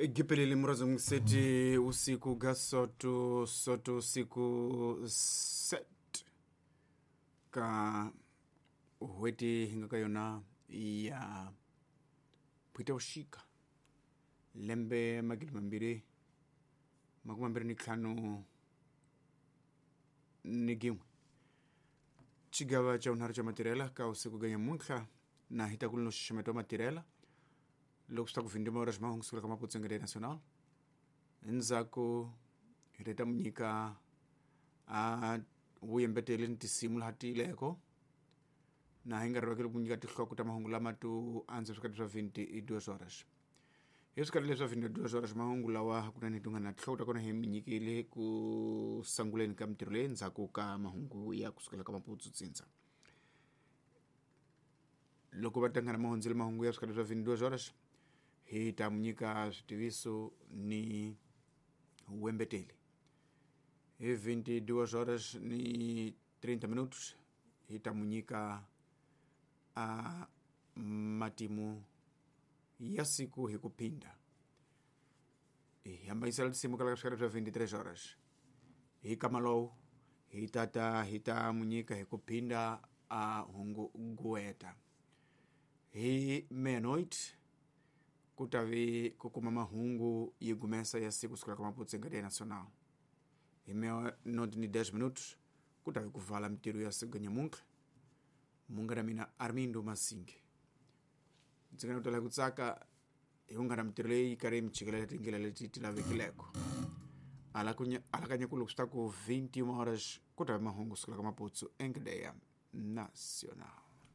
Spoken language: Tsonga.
Gipelele murazo mseti usiku gasoto soto usiku set ka hweti hi nga ka yona ya Phuitavuxika lembe 2025 ni gin'we xigava xa vunharhu xa matirhela ka usiku ga nyamuntlha na hi ta ku no xixemeto wa matirhela loko swi ta ku vhindima ora ximahungu sukela ka Maputsengele National. Endzhaku hi ta mu nyika a vuyembeteli ni tinsimu laha tiyileko na hi nga rivakeli ku nyika tinhloko ta mahungu lama to antswa swikati swa 22 horas. Hi swikati leswi swa 22 horas mahungu lawa hakunene hi tungana na tinhloko ta kona hi mi nyikile ku sanguleni ka mintirho leyi ndzhaku ka mahungu ya kusukela ka Maputsu tsindza. Loko va tangana mahundzele mahungu ya swikati swa 22 horas hi ta mu nyika switiviso ni wembeteli. Hi 22 horas ni 30 minutos hi ta mu nyika a matimu ya siku hi ku phinda. Hi hambanyisela tinsimu kala ka swikati swa 23 horas. Hi kama lowu hi tata hi ta mu nyika hi ku phinda a hungu gueta. Hi meia-noite ku ta vi ku kuma mahungu yi gumesa ya siku sukela ka Maputo Cadeia Nacional. Hi meia-noite ni 10 minutos ku ta vi ku vala mintirho ya siku nyamuntlha. Munghana mina Armindo Masinge. Ndzi nga tala ku tsaka hi munghana mintirho leyi yi karhi yi mi chikelela tindlela leti ti lavekileko. Alakanya ku loko swi ta ku 21 horas ku ta vi mahungu sukela ka Maputo Cadeia Nacional.